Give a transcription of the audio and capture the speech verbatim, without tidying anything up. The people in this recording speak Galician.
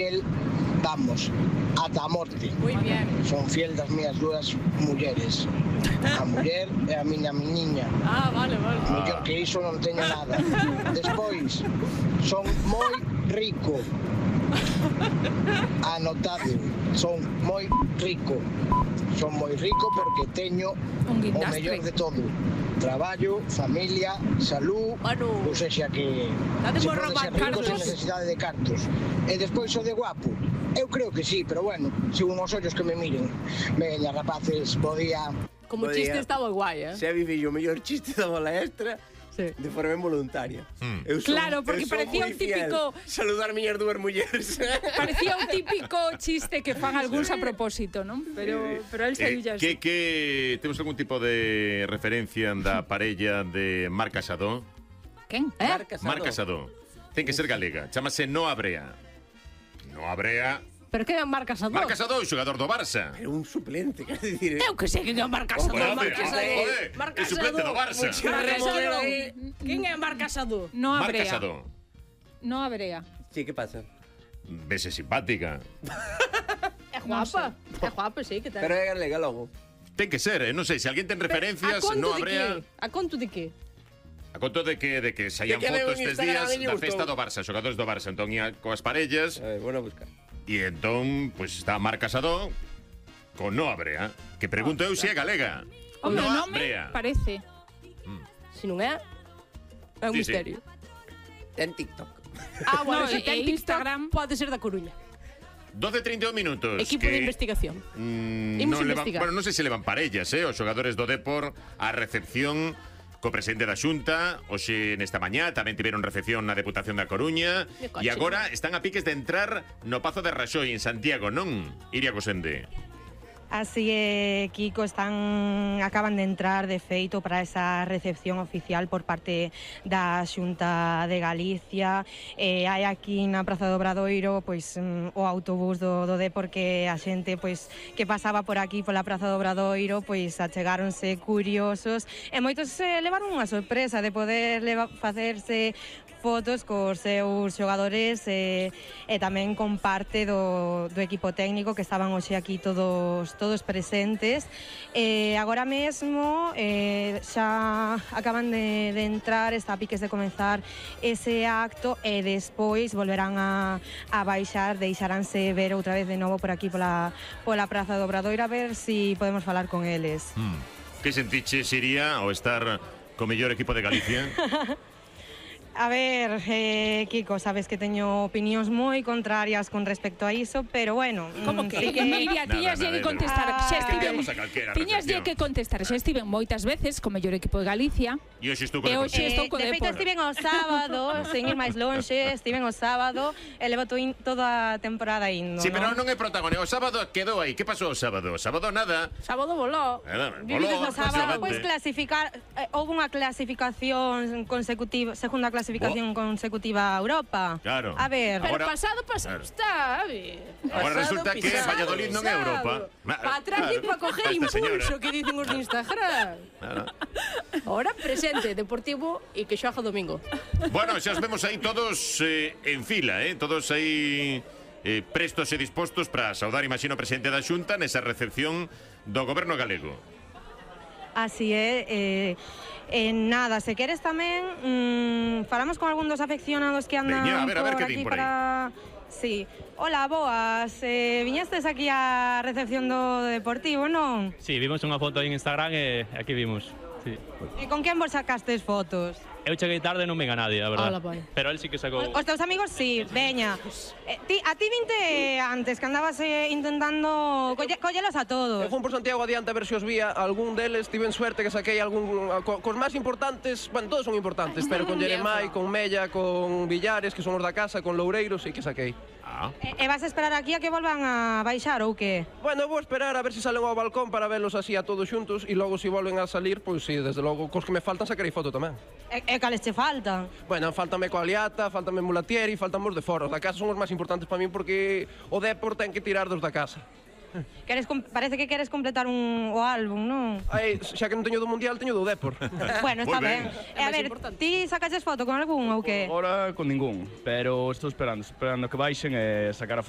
El, vamos, ata a morte. Moi bien. Son fiel das miñas dúas mulleres. A muller e a miña meniña. Ah, vale, vale. Mellor que iso non teño nada. Despois, son moi rico. Anotado, son moi rico. Son moi rico porque teño Un o guindastre. mellor de todo. Traballo, familia, salud, Bueno. ou sexa que Dade se por pode robar ser rico cartos. sen necesidade de cartos. E despois o de guapo. Eu creo que sí, pero bueno, según os ollos que me miren. Veña, rapaces, bo día. Como Bo chiste día. está moi guai, eh? Se vive o mellor chiste da bola extra Sí. de forma involuntaria. Mm. Eu son- Claro, porque eu son parecía moi un típico- fiel. Saludar miñas dúas mulleres. Parecía un típico chiste que fan algúns a propósito, non? Pero, pero el Eh, se que, que temos algún tipo de referencia da parella de Marc Casado? Quen? Eh? Mar Casado. Marc Casado. Ten que ser galega. Chámase Noa Brea. Noa Brea. Pero que é Marc Casado? Marc Casado, xogador do Barça. Era un suplente, quer dicir. Eu que sei que é Marc Casado. Joder, Marc Casado. joder, Marc é suplente do Barça. Marc Casado. Quen é Marc Casado? No Marc Abrea. Casado. No Abrea. Sí, que pasa? Vese simpática. É guapa. É guapa, sí, que tal. Pero é galega logo. Ten que ser, eh? Non sei, se alguén ten A referencias, conto Noa de Brea. que? A conto de que? A conto de que de que saían De que fotos veo en estes Instagram días e lle da gustou. festa do Barça, xogadores do Barça. Entón ia coas parellas A ver, bueno, a buscar. e entón, pois está Marc Casado con Noa Brea, que pregunto eu se é galega. Home, o Noa nome Brea. parece. Se non é, é un Sí, sí. misterio. Ten TikTok. Ah, bueno, No, se e ten Instagram- TikTok, pode ser da Coruña. doce e trinta e un minutos. Equipo que, de investigación. Mm, Imos non levan, investigar. bueno, non sei se levan parellas, eh, os xogadores do Depor a recepción co presidente da Xunta. Hoxe nesta mañá tamén tiveron recepción na Deputación da Coruña De coche. e agora están a piques de entrar no Pazo de Raxoi en Santiago, non? Iria Cosende. Así é, Kiko, están acaban de entrar de feito para esa recepción oficial por parte da Xunta de Galicia. Eh, hai aquí na Praza do Obradoiro pois mm, o autobús do, do Depor que a xente pois que pasaba por aquí pola Praza do Obradoiro pois achegáronse curiosos e moitos se levaron unha sorpresa de poder leva, facerse fotos cos seus xogadores e, e tamén con parte do, do equipo técnico que estaban hoxe aquí todos todos presentes. E agora mesmo eh, xa acaban de, de entrar, está a piques de comenzar ese acto e despois volverán a, a baixar, deixaránse ver outra vez de novo por aquí pola, pola Praza do Obradoiro a ver si podemos falar con eles. Mm. Que sentiches, Iria, ao estar co mellor equipo de Galicia? A ver, eh, Kiko, sabes que teño opinións moi contrarias con respecto a iso, pero bueno... Como mm, que? sí que... Mira, Nada, tiñas nada, que nada. contestar. Xa Ah, estiven, Vamos a calquera tiñas recepción. que contestar. Xa estiven moitas veces co mellor equipo de Galicia. E hoxe estou co E hoxe Deportivo. estou co de feito, Depor. estiven ao sábado, sen ir máis lonxe, estiven ao sábado e levo to in, toda a temporada indo, Sí, pero non? non é protagonista. O sábado quedou aí. Que pasou o sábado? O sábado nada. Sábado voló. Nada, Vivides voló, no O sábado, efectivamente. pois clasificar, eh, houve unha clasificación consecutiva, segunda clasificación consecutiva a Europa. Claro. A ver, Pero Ahora- pasado, pasado Claro. está, a ver. Agora Pasado, resulta que pisado, Valladolid non é pisado. Europa. Pa atrás Claro. e pa coger Esta señora. impulso, que dicen os de Instagram. Claro. Ahora presente, Deportivo e que xoga domingo. Bueno, xa os vemos aí todos eh, en fila, eh? Todos aí eh, prestos e dispostos para saudar, imagino, o presidente da Xunta nesa recepción do goberno galego. así é, eh, eh, nada, se queres tamén mm, falamos con algún dos afeccionados que andan Veña, a ver, a ver por que aquí din por aí. para... Sí. Hola, boas, eh, viñestes aquí á recepción do Deportivo, non? Sí, vimos unha foto en Instagram e aquí vimos. Sí. E con quen vos sacastes fotos? Eu cheguei tarde e non venga nadie, a verdade. Ala, vai. Pero él sí que sacou... Os teus amigos, sí, veña. Eh, ti, a ti vinte antes, que andabas eh, intentando colle, collelos a todos. Eu fun por Santiago adiante a ver se os vía algún deles, tiven suerte que saquei algún co, cos máis importantes, bueno, todos son importantes, pero con Jeremai, con Mella, con Villares, que son os da casa, con Loureiros, sí que saquei. Ah. E, e vas a esperar aquí a que volvan a baixar ou que? Bueno, vou esperar a ver se salen ao balcón para velos así a todos xuntos e logo se volven a salir, pois sí, desde logo, cos que me faltan sacarei foto tamén. E, e cales che faltan? Bueno, faltame Coaliata, faltame Mulatieri, faltame os de fora. Os da casa son os máis importantes para min porque o Depor ten que tirar dos da casa. Queres com- parece que queres completar un o álbum, non? Ai, xa que non teño do Mundial, teño do Depor. Bueno, está Moi ben. ben. E a ver, ti sacaches foto con algún ou que? Ahora con ningún, pero estou esperando, esperando que baixen e sacar a foto